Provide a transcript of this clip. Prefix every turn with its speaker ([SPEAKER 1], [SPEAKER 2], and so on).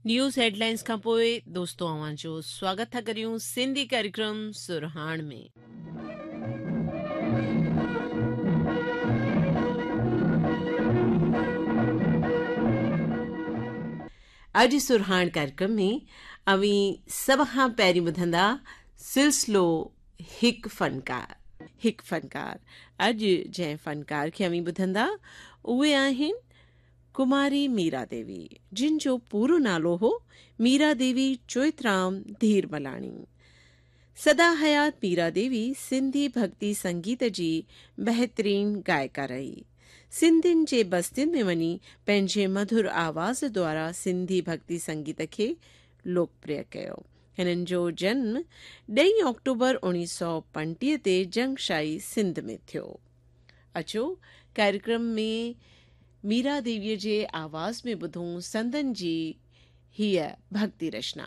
[SPEAKER 1] News headlines खां पोइ दोस्तो अव्हां जो स्वागत था करियूं सिंधी कार्यक्रम सुरहाण में। अॼु सुरहाण कार्यक्रम में अवीं सभ खां पहिरीं ॿुधंदा सिलसिलो हिकु फ़नकार। हिकु फ़नकार, अॼु जंहिं फ़नकार खे अवीं ॿुधंदा उहे आहिनि कुमारी मीरा देवी, जिन जो पूरो नालो हो मीरा देवी चोइतराम धीरमलाणी। सदा हयात मीरा देवी सिंधी भक्ति संगीत जी बहितरीन गायिका रही। सिंधियुनि जे बस्तियुनि में वञी पंहिंजे मधुर आवाज़ द्वारा सिंधी भक्ति संगीत खे लोकप्रिय कयो। हिननि जो जन्म 10 ऑक्टोबर 1935 ते जंगशाही सिंध में थियो। अचो कार्यक्रम में मीरा देवीअ जे आवाज़ में ॿुधूं संदन जी हीअ भक्ति रचना।